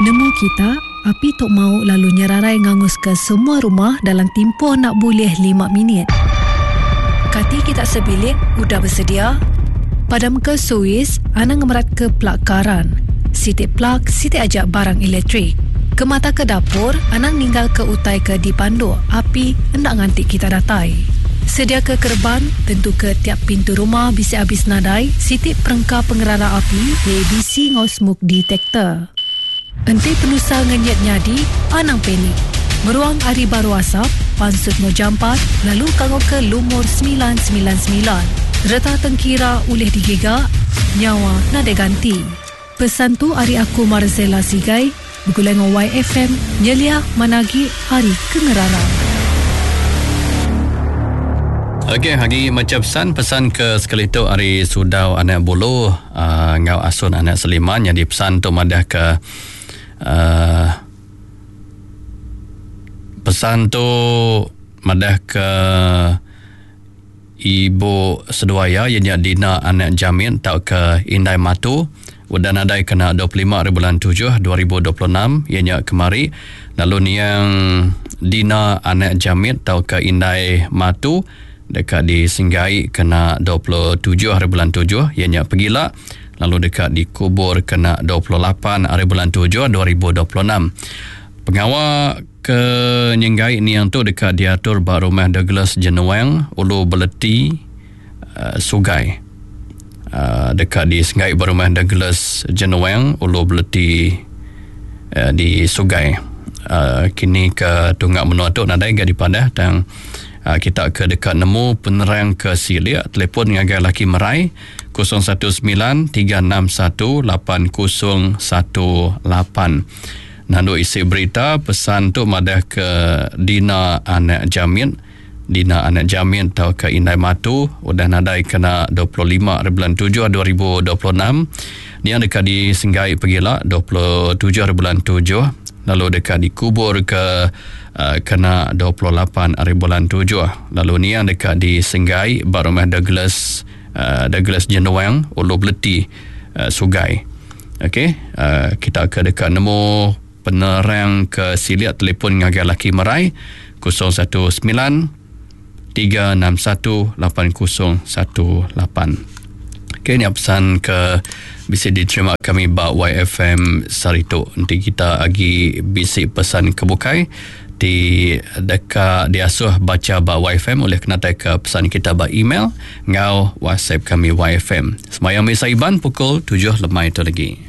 Nemu kita, api tu mau lalu nyerarai nganguska semua rumah dalam timpuh enda bulih lima minit. Kati kita sebilik udah besedia? Padamka suis, anang ngemeratka plug karan. Siti plug, siti aja barang elektrik. Kemataka dapur, anang ninggalka utai ke dipanduk api enda nganti kita datai. Sediaka kereban, tentuka tiap pintu rumah bisi abis nadai siti perengka pengerara api, ABC enggau smoke detector. Enti penusah ngenyit nyadi, anang panik. Meruang ari baruh asap, pansut enggau jampat lalu kangauka lumur 999. Reta tengkira ulih digiga, nyawa nadai ganti. Pesan tu ari aku Marzella Sigai begulai enggau YFM nyelia manah agi ari ke ngerara. Okey, agi macha pesan, pesan ke sekali tu ari Sudau anak Bulu uh, enggau Asun anak Seliman nyadi pesan tu madah ke uh, pesan tu madah ke Ibu seduai iya, iya nya Dina anak Jamit tauka Indai Matu, udah nadai kena 25 ari bulan tujuh 2026, iya nya kemari, lalu niang Dina anak Jamit tauka Indai Matu deka disenggai kena 27 ari bulan tujuh, iya nya pegila, lalu deka dikubur kena 28 ari bulan tujuh 2026. Pengawa Ke nyenggai niang tu deka diatur ba Rumah Douglas Jenuang, Ulu Beleti, Sugai. Deka disenggai ba Rumah Douglas Jenuang, Ulu Beleti di Sugai. Kini ke tunga menua tu nadai ga dipadah tang kita ke deka nemu penerang ke silik telefon ngagai laki Merai 019 361 8018. Nandu isi berita, pesan tu madah ke Dina anak Jamit, Dina anak Jamit tauka Indai Matu udah nadai kena 25 ari bulan tujuh 2026. Nia deka disenggai pegila 27 ari bulan tujuh lalu deka dikubur ke uh, kena 28 ari bulan tujuh. Lalu nia deka disenggai ba rumah Douglas uh, Douglas Jenuang Ulu Beleti uh, Sugai. Okey, uh, kita ke deka nemu penerang ke silik telefon ngagai laki Merai 019 361 8018. Okey, ni pesan ke bisi diterima kami ba YFM sehari tu. Enti kita agi bisi pesan ke bukai ti deka diasuh baca ba YFM ulih kenatai ke pesan kita ba email enggau WhatsApp kami YFM. Semayang Misa Iban pukul 7 lemai tu lagi.